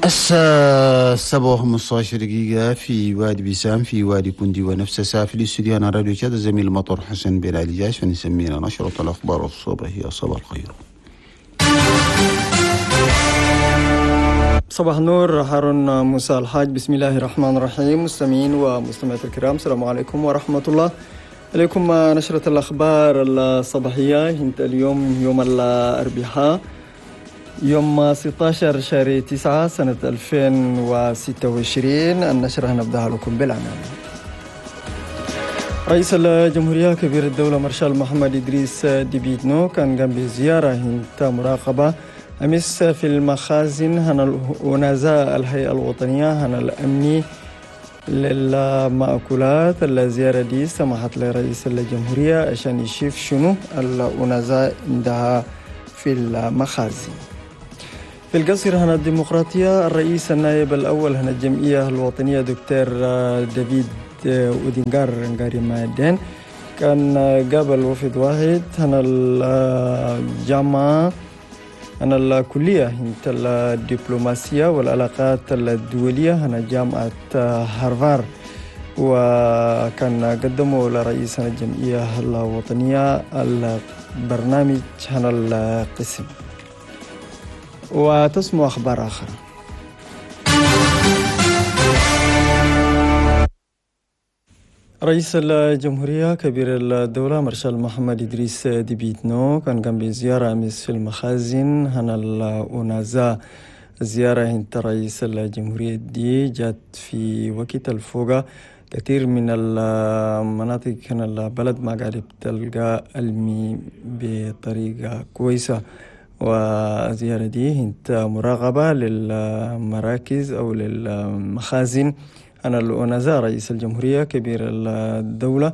الساعة 7:15 دقيقة في وادي بيسام، في وادي كوندي، ونفس الساعة في الاستوديو على راديو تشاد الزميل مطر حسن بن علي جاش، فنسمينا نشرة الأخبار الصباحية. صباح الخير. صباح النور هارون موسى الحاج. بسم الله الرحمن الرحيم. مستمعين ومستمعات الكرام، السلام عليكم ورحمة الله. عليكم نشرة الأخبار الصباحية انت اليوم يوم الأربعاء يوم 16 شهر 9 سنة 2026. النشرة نبدأها لكم بالعناوين. رئيس الجمهورية كبير الدولة مارشال محمد إدريس ديبي إتنو كان قام بزيارة انت مراقبة أمس في المخازن هنا ونزاع الهيئة الوطنية هنا الأمني للمأكولات. الزيارة دي سمحت لرئيس الجمهورية عشان يشوف شنو الونزاع عندها في المخازن. في القصر هنا الديمقراطية الرئيس النائب الأول هنا الجمعية الوطنية دكتور دافيد أودينغار نغاري مادين كان قابل وفد واحد هنا الجامعة هنا الكلية الدبلوماسية والعلاقات الدولية هنا جامعة هارفارد، وكان قدموا لرئيس الجمعية الوطنية البرنامج هنا القسم. وتسمع أخبار آخرى. رئيس الجمهورية كبير الدولة مارشال محمد إدريس ديبي إتنو كان قام بزيارة أمس في المخازن هنا الأونازا. الزيارة انت رئيس الجمهورية دي جات في وقت الفوقة كثير من المناطق هنا البلد ما قاعد تلقى المي بطريقة كويسة، والزيارة دي انت مراقبة للمراكز أو للمخازن أنا الأونازا. رئيس الجمهورية كبير الدولة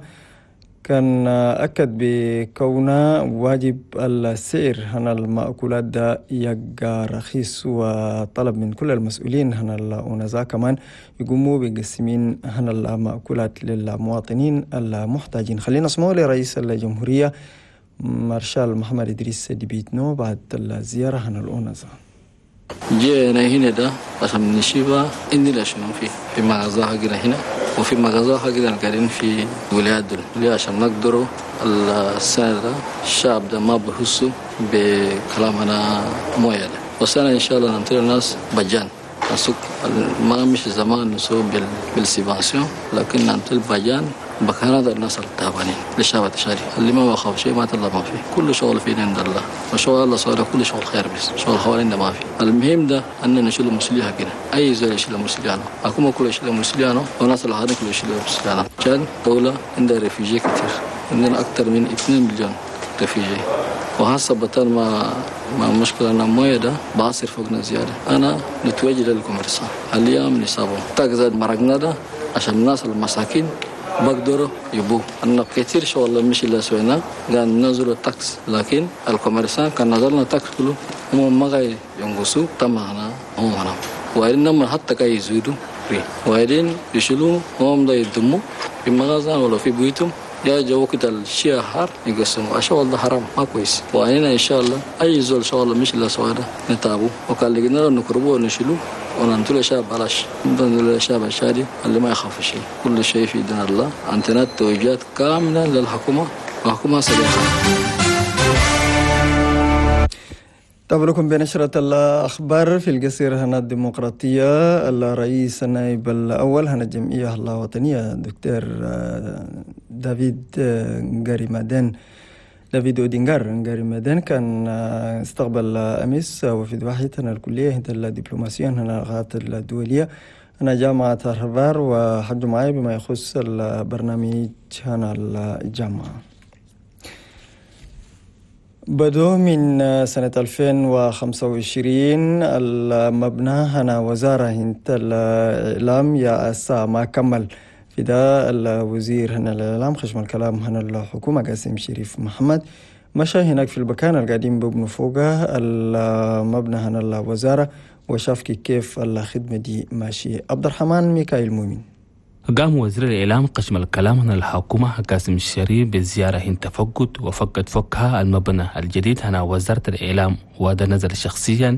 كان أكد بكونه واجب السعر هنا المأكولات ده يبقى رخيص، وطلب من كل المسؤولين هنا الأونازا كمان يقوموا بقسمين هنا المأكولات للمواطنين المحتاجين. خلينا نسمعوا لرئيس الجمهورية مارشال محمد إدريس ديبي إتنو بعد الزيارة هنا الأونازا. جينا هنا ده عشان نشيبا عندنا شنو في مغازة حقنا هنا وفي مغازة حقنا قاعدين في ولايات دول ليه عشان نقدروا السنة ده الشعب ده ما بحسوا بكلامنا موية ده، والسنة إن شاء الله ننطي الناس بجان السوق ما مش زمان نسوق بالسيبانسيون، لكن ننطي البجان بكانات الناس التعبانين للشعب التشاري اللي ما بخاف شيء ما طلع ما فيه، كل شغل فينا عند الله وشغل الله صار كل شغل خير، بس شغل حوالينا ما في. المهم ده أن نشيل المسؤولية كده، أي زول يشيل المسؤولية، أكون كل يشيل المسؤولية وناس الآخرين كل يشيل المسؤولية. عشان دولة عندها ريفيجي كتير، عندنا أكثر من 2 مليون ريفيجي، وهسه بطل ما مشكلة أنا موية ده بعصر فوقنا زيادة. أنا نتوجه للكوميرسا اليوم نصابه تاكزاد مرقنا ده عشان الناس المساكين بقدروا يبو أن كثير شغل مش اللي سوينا قال نزلوا التاكس، لكن الكوميرسان كان نزلنا التاكس كله هم ما جاي ينقصوا تمانا هم هنا، وإنما حتى كي يزيدوا وبعدين يشيلوا هم ده يدموا في مغازة ولا في بيوتهم يا جو وقت الشيء حار يقسموا الشغل ده حرام ما كويس. وأنا إن شاء الله أي زول شغل مش اللي سوينا نتابه وكان لقينا نكربوه ونشيلوه وننتلو شاب بلاش ننتلو شاب الشادي اللي ما يخاف شيء، كل شيء في دين الله. عندنا توجيهات كاملة للحكومة وحكومة سريعة. تابعكم بنشرة الأخبار في القصير هنا الديمقراطية. الرئيس النائب الأول هنا الجمعية الوطنية دكتور دافيد غاريمادين دافيد أودينغار غاريمادين كان استقبل أمس وفد واحد هنا الكلية هنا الدبلوماسية هنا العلاقات الدولية هنا جامعة هارفارد، وحجوا معي بما يخص البرنامج هنا الجامعة. بدو من سنة 2025 المبنى هنا وزارة هنت الإعلام يا أسا ما كمل في ده الوزير هنا الإعلام خشم الكلام هنا الحكومة قاسم شريف محمد مشى هناك في المكان القديم ببنوا فوقه المبنى هنا الوزارة وشاف كيف الخدمة دي ماشية. عبد الرحمن ميكائيل مؤمن. قام وزير الإعلام قشم الكلام عن الحكومة قاسم الشريف بالزيارة هن تفقد وفقد فكها المبنى الجديد هنا وزارة الإعلام، وهذا نزل شخصيا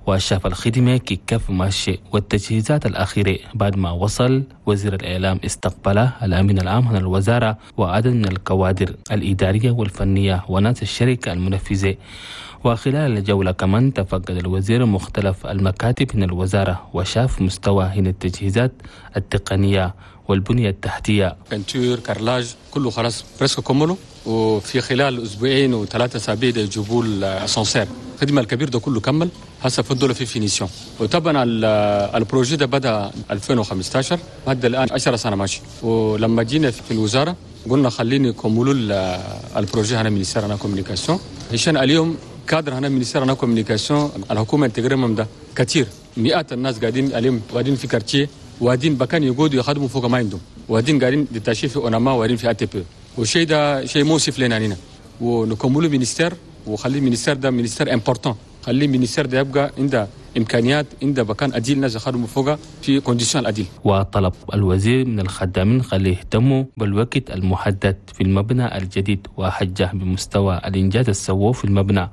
وشاف الخدمة كيف ماشي والتجهيزات الأخيرة. بعد ما وصل وزير الإعلام استقبله الأمين العام هنا الوزارة وعدد من الكوادر الإدارية والفنية وناس الشركة المنفذة. وخلال الجولة كمان تفقد الوزير مختلف المكاتب من الوزارة وشاف مستوى هنا التجهيزات التقنية والبنية التحتية. peinture carrelage كله خلاص presque كملوا، وفي خلال اسبوعين و3 اسابيع يجيبوا الاسانسير. الخدمة الكبير ده كله كمل، هسه فضلوا في finition. وطبعا ال projet ده بدا 2015 هذا الان 10 سنة ماشي. ولما جينا في الوزارة قلنا خليني يكملوا ال projet هنا ministère هنا communication، عشان اليوم كادر هنا ministère هنا communication الحكومة intégrée ده كثير، مئات الناس قاعدين اليوم قاعدين في quartier وادين بكان يقعدوا يخدموا فوق ما عندهم، وادين قاعدين détachés في ONAMA وادين في ATP، والشيء ده شيء مؤسف لنا هنا. ونكملوا ministère وخلي ministère ده ministère important، خلي ministère ده يبقى عنده امكانيات، عنده بكان اديل ناس يخدموا فوق في conditions اديل. وطلب الوزير من الخدامين خلي يهتموا بالوقت المحدد في المبنى الجديد وحجه بمستوى الانجاز السووه في المبنى.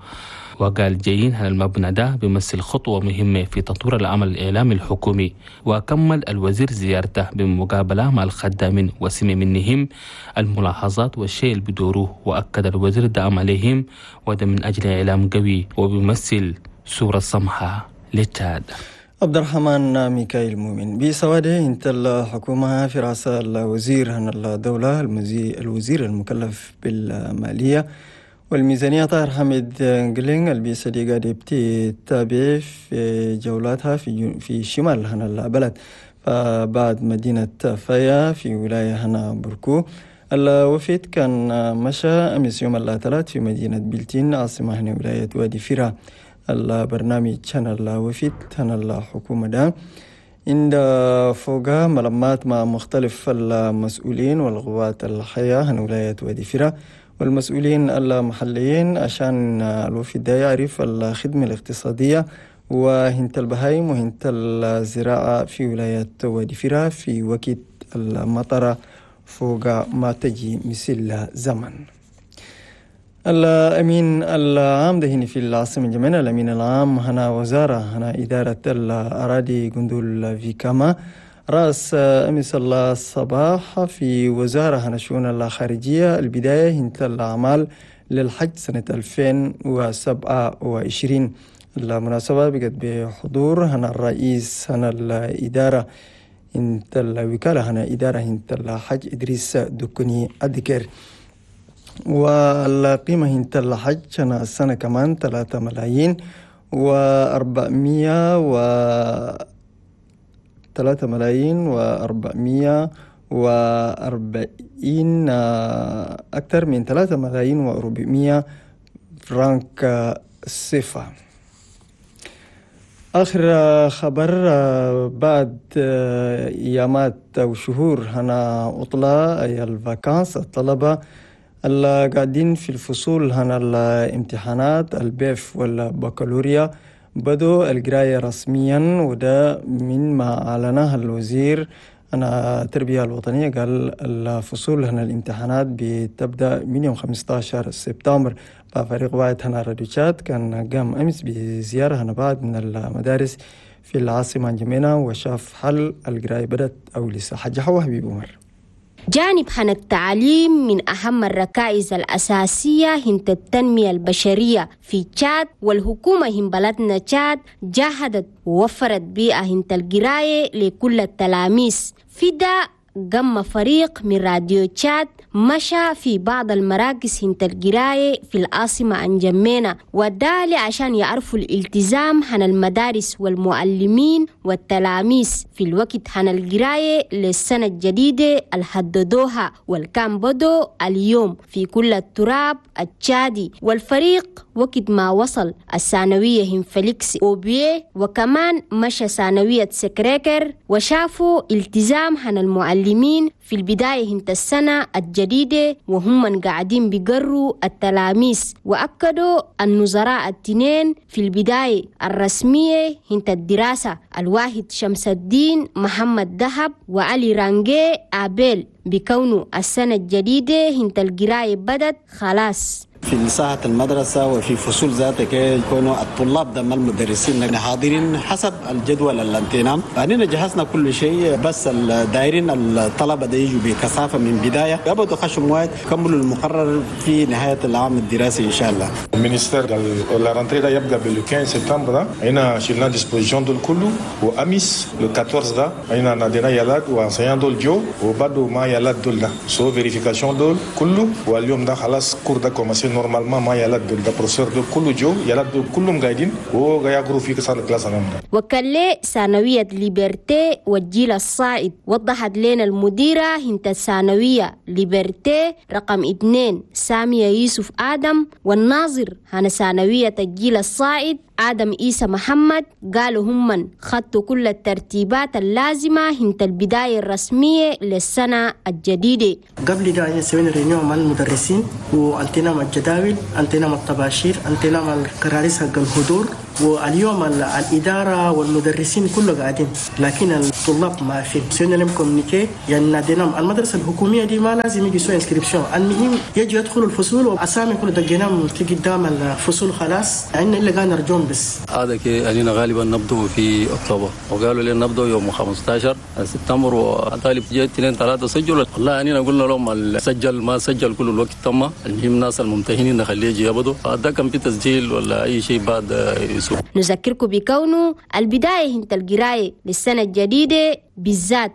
وقال جايين على المبنى ده بيمثل خطوة مهمة في تطوير العمل الإعلامي الحكومي. وكمل الوزير زيارته بمقابلة مع الخدامين وسمع منهم الملاحظات والشيء اللي بدوروه، وأكد الوزير دعم عليهم وده من أجل إعلام قوي وبيمثل صورة سمحة لتشاد. عبد الرحمن ميكائيل مؤمن بسواده انت الحكومة في رأس الوزير هنا الدولة الوزير المكلف بالمالية والميزانية طاهر حميد جلينغ البيسة دي قاعدة بتتابع في جولاتها في شمال هنا البلد، فبعد مدينة فيا في ولاية هنا بركو. الوفد كان مشى أمس يوم الثلاث في مدينة بلتين عاصمة هنا ولاية وادي فيرا. البرنامج هنا الوفد هنا الحكومة ده عند فوق ملمات مع مختلف المسؤولين والقوات الحية هنا ولاية وادي فيرا والمسؤولين المحليين عشان الوفد ده يعرف الخدمة الاقتصادية وهنت البهايم وهنت الزراعة في ولاية وادي فيرا في وقت المطرة فوق ما تجي مثل زمن. الأمين العام ده هنا في العاصمة جميلة، الأمين العام هنا وزارة هنا إدارة الأراضي جندول فيكاما رأس أمس الصباح في وزارة هنا شؤون الخارجية البداية هنت الأعمال للحج سنة 2027. المناسبة بقت بحضور هنا الرئيس هنا الإدارة هنت الوكالة هنا إدارة هنت الحج إدريس دكني الذكر. والقيمة هنت الحج هنا السنة كمان 3 ملايين و400 و 3,440,000 أكثر من 3,400,000 فرنك سيفا. آخر خبر بعد أيامات أو شهور هنا عطلة أي ال vacances، الطلبة اللي قاعدين في الفصول هنا الامتحانات ال BEF والبكالوريا بدوا القراية رسميا، وده من ما أعلنها الوزير أنا التربية الوطنية. قال الفصول هنا الامتحانات بتبدأ من يوم 15 سبتمبر. ففريق واحد هنا راديو تشاد كان قام أمس بزيارة هنا بعد من المدارس في العاصمة جمينة وشاف هل القراية بدأت أو لسه. حاجة حوا حبيب عمر. جانب هنا التعليم من أهم الركائز الأساسية هنت التنمية البشرية في تشاد، والحكومة هن بلدنا تشاد جاهدت ووفرت بيئة هنت القراية لكل التلاميذ. في ده قام فريق من راديو تشاد مشى في بعض المراكز هنت القراية في العاصمة أنجمينا، وده عشان يعرفوا الالتزام هن المدارس والمعلمين والتلاميذ في الوقت هن القراية للسنة الجديدة اللي حددوها والكان بدو اليوم في كل التراب التشادي. والفريق وقت ما وصل الثانوية هم فليكس أوبيه، وكمان مشى ثانوية سكريكر، وشافوا التزام هن المعلمين في البداية هنت السنة الجديدة وهم من قاعدين بيقروا التلاميذ، وأكدوا النظراء التنين في البداية الرسمية هنت الدراسة الواحد شمس الدين محمد دهب وعلي رانجي آبيل بكونه السنة الجديدة هنت القراية بدت خلاص. في ساحة المدرسة وفي فصول ذاتك يكونوا الطلاب دم المدرسين حاضرين حسب الجدول الانتينام. أننا جهزنا كل شيء، بس الدايرين الطلبة ده يجوا بكثافة من بداية قبضوا خشم واحد كملوا المقرر في نهاية العام الدراسي إن شاء الله. ال ministère la rentrée ده يبقى بال 15 سبتمبر ده هنا شلنا dispositions دول كله، وأمس le 14 ده هنا نادينا يلاد و enseignants دول جو وبدو ما يلاد دول ده so vérification دول كله، واليوم ده خلاص cours ده commencé normalement ما يلاد دول ده بروفيسور دول كله جو يلاد دول كلهم قاعدين ويقروا في salle classe. وكلي ثانوية ليبرتي والجيل الصاعد وضحت لنا المديرة هنت الثانوية ليبرتي رقم 2 سامية يوسف آدم، والناظر هنا ثانوية الجيل الصاعد آدم إيسى محمد، قالوا هم خدتوا كل الترتيبات اللازمة هنت البداية الرسمية للسنة الجديدة. قبل ده سوينا réunion مع المدرسين وانتنا مع الجداول، انتنا مع الطباشير، انتنا مع الكراريس حق الحضور، واليوم الإدارة والمدرسين كله قاعدين لكن الطلاب ما في. سوينا لهم communiqué، يعني ناديناهم المدرسة الحكومية دي ما لازم يجي سوى inscription، المهم يجي يدخلوا الفصول وأسامي كله دقيناهم في قدام الفصول خلاص، عندنا إلا قاعد نرجوهم بس. هذا كي أننا غالبا نبدو في أكتوبر، وقالوا لنا نبدو يوم 15 سبتمبر، وطالب جاي 2 3 سجلوا. والله أننا قلنا لهم سجل ما سجل كل الوقت تم، المهم الناس الممتهنين نخليه يجي يبدو، هذا كان في تسجيل ولا أي شيء بعد يسوق. نذكركم بكونه البداية هنت القراية للسنة الجديدة بالذات